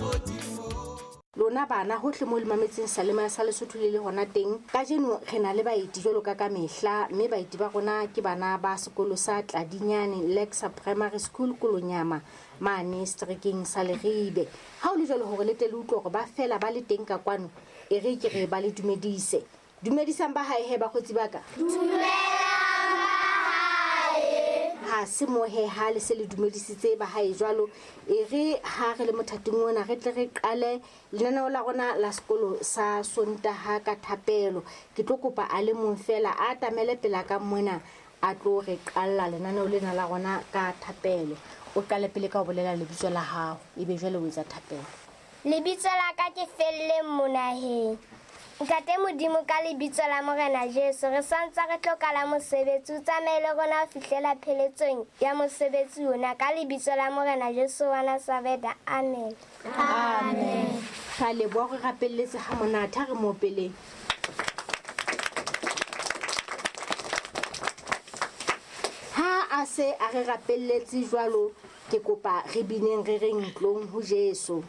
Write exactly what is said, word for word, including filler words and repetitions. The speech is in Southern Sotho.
mahodimo. Lona bana hohle mo le mametseng Salema sa Lesotho le le hona teng. Kajeno re na le baeti jwalo ka ka mehla, mme baeti ba rona ke bana ba sekolo sa Tladinyane Lexa Primary School Kolonyama mane seterekeng sa Leribe. Ha o le jwalo hore le tle le utlwe hore ba fela ba le teng ka kwano, e re ke re ba le dumedise. Dumedisang ba hae he bakgotsi ba ka. Dumelang ba hae. Ha se mo he ha le se le dumedisitse ba hae jwalo, e re ha re le mothating ona re tle re qale lenaneo la rona la sekolo sa Sontaha ka thapelo. Ke tlo kopa a le mong fela a atamele pela ka mona a tlo re qalla lenaneo lena la rona ka thapelo. O qale pele ka ho bolela lebitso la hao, ebe jwale o etsa thapelo. Lebitso la ka ke Felleng Monaheng. Ntate Modimo, ka lebitso la Morena Jesu, re santse re tlo qala mosebetsi, o tsamaye le rona ho fihlela pheletsong ya mosebetsi ona, ka lebitso la Morena Jesu wa Nazaretha. Amen. Amen. Ra leboha, re rapelletse ha monate, ha re mo opeleng. Ha a se a re rapelletse jwalo, ke kopa re bineng re reng tlong ho Jesu.